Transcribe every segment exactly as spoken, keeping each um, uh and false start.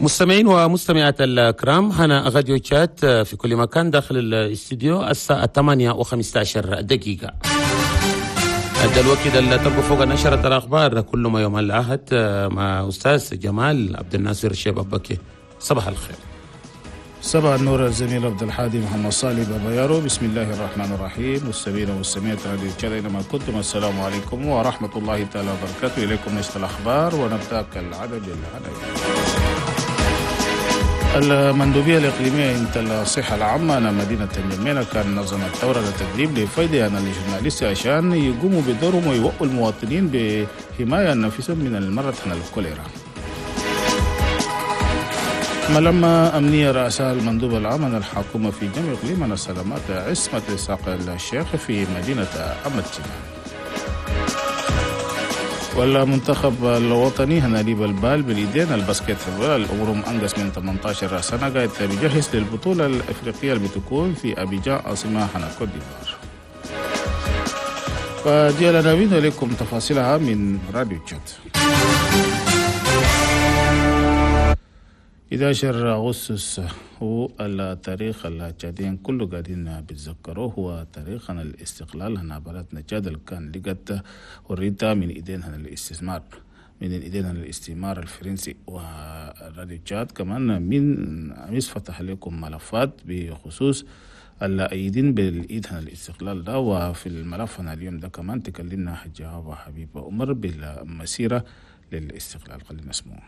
مستمعين ومستمعات الكرام، هنا راديو تشاد في كل مكان. داخل الاستديو الساعة ثمانية وخمسة عشر دقيقة. هذا الوقت اللي تلقوا فوق نشرة الأخبار كل ما يوم الأحد مع أستاذ جمال عبد الناصر الشيب أبكي. صباح الخير. صباح النور الزميل عبد الحادي محمد صالح بابا. بسم الله الرحمن الرحيم. مستمعين ومستمعات راديو تشاد اينما كنتم، السلام عليكم ورحمة الله تعالى وبركاته. إليكم نشرة الأخبار ونبدأ كالعادة بالعناوين. المندوبية الإقليمية انت الصحة العامة هنا مدينة انجمينا كان نظمت دورة للتدريب لفايدة هنا ال journalistes عشان يقوموا بدورهم ويوعوا المواطنين بحماية نفسهم من المرض هنا الكوليرا. ملمة أمنية رأسها المندوب العام من الحكومة في جميع إقليم السلامات عصمت إسحاق الشيخ في مدينة أمتنا. والمنتخب الوطني هنا ليب ال balle بالإيدين، ال basket، العمرهم أنقص من ثمانية عشر سنة، قاعد بيجهز للبطولة الأفريقية اللي بتكون في أبيجان، عاصمة هنا كوت ديفوار. فدي العناوين، لكم تفاصيلها من راديو تشاد. إحدى عشر أغسطس هو التاريخ التشاديين كله قاعدين بيتذكروه، هو تاريخ الاستقلال هنا بلدنا تشاد اللي كان لقت حريتها من ايدين هنا الاستثمار من ايدين الاستعمار الفرنسي. وراديو تشاد كمان من أمس فتح لكم ملفات بخصوص الأيدين بالإيد هنا الاستقلال ده. وفي الملف هنا اليوم ده كمان تكلمنا حجة حبيبة عمر بالمسيرة للاستقلال. خلينا نسمعه.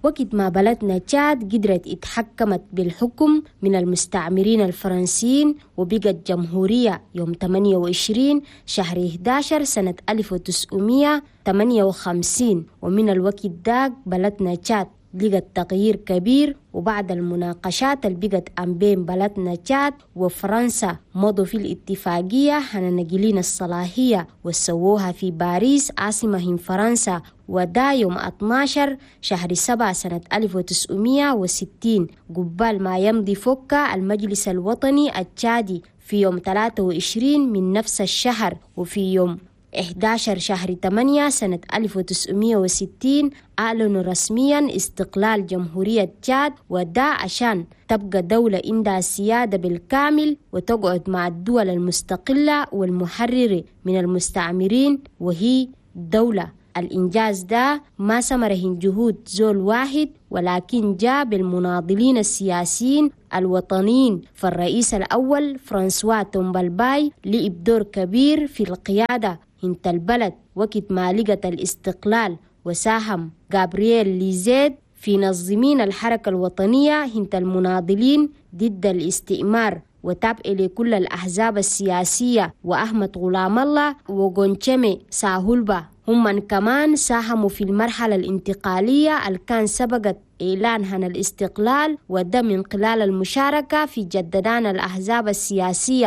وقت ما بلدنا تشاد قدرت اتحكمت بالحكم من المستعمرين الفرنسيين وبقت جمهورية يوم ثمانية وعشرين شهر إحدى عشر سنة ألف وتسعمية وثمانية وخمسين، ومن الوقت داك بلدنا تشاد لقت تغيير كبير. وبعد المناقشات اللي بقت أم بين بلدنا تشاد وفرنسا، مضوا في الاتفاقية هنا نقلين الصلاحية وسووها في باريس، عاصمة فرنسا، ودا يوم اثنا عشر شهر سبعة سنة ألف وتسعمية وستين، قبال ما يمضي فوكا المجلس الوطني التشادي في يوم ثلاثة وعشرين من نفس الشهر. وفي يوم إحدى عشر شهر ثمانية سنة ألف وتسعمية وستين أعلنوا رسميا استقلال جمهورية تشاد، ودا عشان تبقى دولة عندها سيادة بالكامل وتقعد مع الدول المستقلة والمحررة من المستعمرين وهي دولة. الإنجاز ده ما ثمره جهود زول واحد، ولكن جاء بالمناضلين السياسيين الوطنيين. فالرئيس الأول فرانسوا تومبالباي لعب دور كبير في القيادة هنت البلد وقت ما لقت الاستقلال، وساهم جابرييل ليزيد في نظمين الحركة الوطنية هنت المناضلين ضد الاستعمار وتابع لكل الأحزاب السياسية، وأحمد غلام الله وغونشمي ساهولبا هم من كمان ساهموا في المرحلة الانتقالية اللي كان سبقت إعلان عن الاستقلال، وده من خلال المشاركة في جددان الأحزاب السياسية.